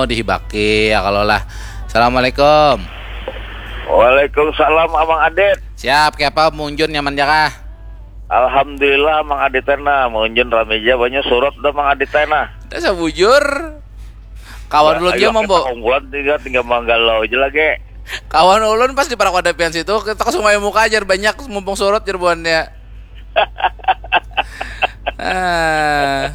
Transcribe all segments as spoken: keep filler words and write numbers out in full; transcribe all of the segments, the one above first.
Oh, dihibaki ya kalau lah. Assalamualaikum. Waalaikumsalam Amang Adit. Siap, kiapa Munjun nyaman ja kah? Alhamdulillah Amang Adit tena. Munjun rami ja banyu surut dah Amang Adit tena. Dah sabujur. Kawan ulun ya, mambo. Unggulan tinggal tinggal manggalau aja lagi. Kawan ulun pas di parak wadapian situ, kita ke Sungai Muka ajar banyak mumpung surut jer buannya. Ah.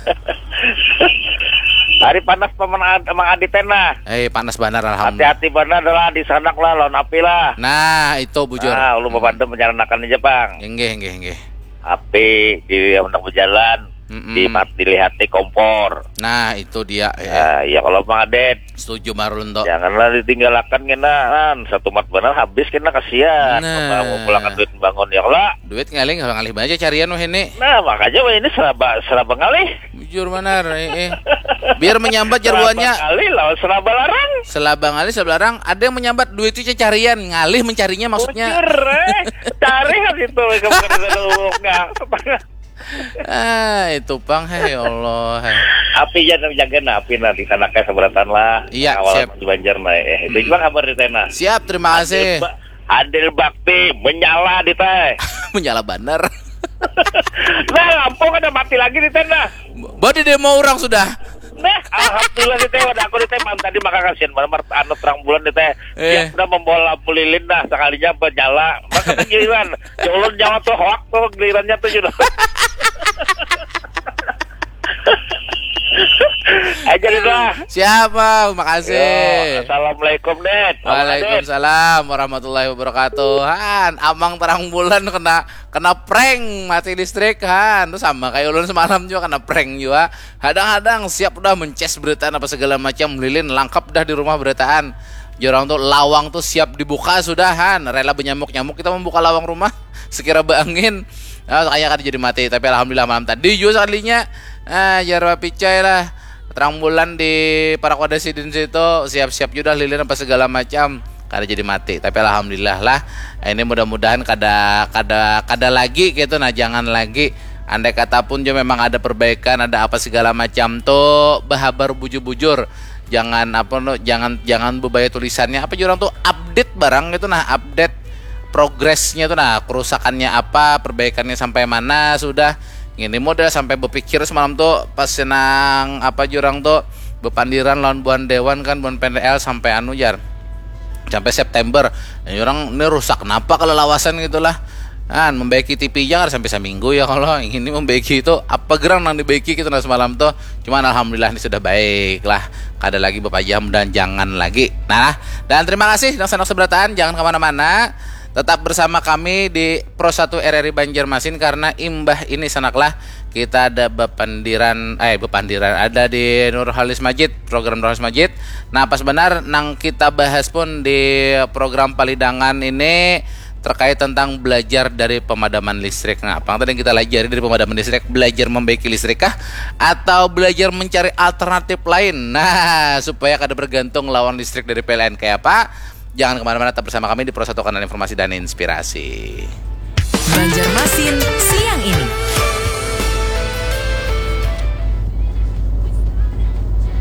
Hari panas paman Ad- Mang Adit nah. Eh, panas banar, alhamdulillah. Hati-hati banar lah di sanak lah lawan api lah. Nah, itu bujur. Nah, ulun hmm. Bapandu menyaranakan aja, Bang. Inggih, inggih, inggih. Api di hendak berjalan, mm -mm. Di mat dilihat di kompor. Nah, itu dia. Ya. Nah, ya kalau Mang Adit. Setuju marun tuh. Janganlah ditinggalakan kena kan. Satu mat benar habis kena kasihan. Nah. Mau pulakan duit bangun ya kalau. Duit ngalih ngalih banyak carian wah ini. Nah, makanya wah ini seraba seraba ngalih. Bujur banar, eh, eh. Biar menyambat jarbuannya. Ngalih lawan selaba larang. Selaba ngalih, selaba larang. Ada yang menyambat duit itu carian, ngalih mencarinya maksudnya. Bujur, eh. Cari kan itu mereka bukan di sana umumnya. Ah, itu pang, hei Allah. Api jangan jaga nah, api nanti sana kayak seberatan lah. Iya, awal siap. Di Banjar nah, eh. Itu hmm. Juga kabar di sana. Siap, terima kasih. Ba- Adil bakti menyala di teh. Menyala banar. Nah, lampu kada mati lagi di teh nah. Badi demo orang sudah. Nah, alhamdulillah di teh wadah aku di teh malam tadi maka kasihan banar anu terang bulan di teh. Eh. Dia sudah membawa lampu lilin dah sekalinya menyala. Maka giliran, ya ulun nyawa tuh hoak tuh gilirannya tuh sudah. Aja dulu lah. Siap, Bang. Makasih. Yo, assalamualaikum, Dit. Waalaikumsalam warahmatullahi wabarakatuh. Han, Amang terang bulan kena kena prank mati listrik, Han. Terus sama kayak ulun semalam juga kena prank juga. Hadang-hadang siap udah mences berita apa segala macam, lilin lengkap dah di rumah beritaan. Jorang tuh lawang tuh siap dibuka sudah, Han. Rela benyamuk-nyamuk kita membuka lawang rumah. Sekira beangin. Nah, kayaknya kan jadi mati, tapi alhamdulillah malam tadi juga sekalinya. Ah, jarwa picai lah. Terang bulan di parak wadah sidin situ, siap-siap juga lilin apa segala macam. Kada jadi mati, tapi alhamdulillah lah. Ini mudah-mudahan kada kada kada lagi gitu nah, jangan lagi. Andai kata pun juga memang ada perbaikan, ada apa segala macam tuh, bahabar bujur-bujur. Jangan apa no, jangan jangan bebaya tulisannya apa juga orang tuh update barang gitu nah, update progresnya tuh nah, kerusakannya apa, perbaikannya sampai mana sudah. Ini model sampai berpikir semalam tuh pas senang apa jurang tuh berpandiran lawan buan dewan kan, buan P N L sampai anu jar sampai September. Ini orang ini rusak kenapa kalau lawasan gitulah. Kan membaiki T V jangan sampai seminggu ya kalau ini membaiki itu apa gerang nang dibaiki gitu nah semalam tuh. Cuman alhamdulillah ini sudah baik lah. Kada lagi bepajam dan jangan lagi. Nah, dan terima kasih nang senang seberataan, jangan kemana-mana. Tetap bersama kami di Pro satu R R I Banjarmasin karena imbah ini sanaklah kita ada bepandiran eh bepandiran ada di Nurhalis Majid, program Nurhalis Majid. Nah, pas benar nang kita bahas pun di program palidangan ini terkait tentang belajar dari pemadaman listrik. Nah, apa yang tadi kita pelajari dari pemadaman listrik? Belajar membaiki listrik kah? Atau belajar mencari alternatif lain? Nah, supaya kada bergantung lawan listrik dari P L N kayak apa? Jangan kemana-mana, tetap bersama kami di Pro satu Kanal Informasi dan Inspirasi. Banjarmasin siang ini.